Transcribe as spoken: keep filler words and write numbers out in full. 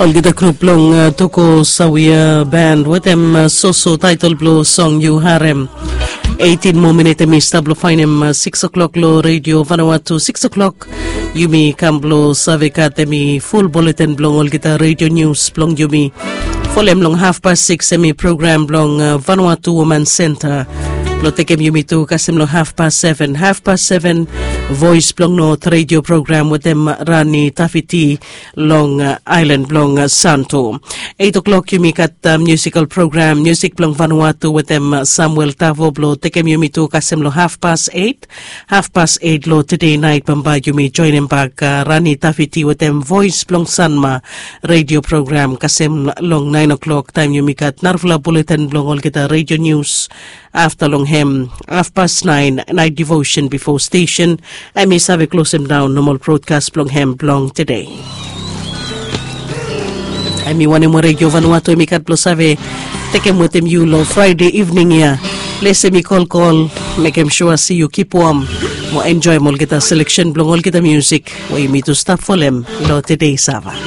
Olgeta grup blong toko sawia band wetem soso taitol blong song yu harem. Eighteen moa minit em i stap long fainim six o'clock long redio Vanuatu six o'clock. Yumi kam blong save gat em i ful bulletin blong olgeta redio nius blong yumi. Folem long hafpas six em i program blong Vanuatu Woman Center. Blong tekem yumi tu kasem long hafpas seven, hafpas seven, voice blong not redio program wetem Rani Tafiti long ailan blong Santo. Eight o'clock yumi gat miusikal program miusik blong Vanuatu wetem Samuel Tavo blong tekem yumi tu kasem long hafpas eight. Hafpas eight long tede nait bambae yumi joinim bak Rani Tafiti wetem voice blong Sanma redio program kasem long nine o'clock taem yumi gat narafala bulletin blong olgeta redio nius. Afta long hem, hafpas nine, nait devotion bifo stesen em i save klosem daon nomal brodkas blong hem blong tede. Em i wanem we redio Vanuatu em i gat blong save tekem wetem yu long Fraede ivning ya. Ples em i kolkol, mekem sua se yu kip wom mo enjoem olgeta seleksen blong olgeta miusik we yumi tu stap folem long tede sava.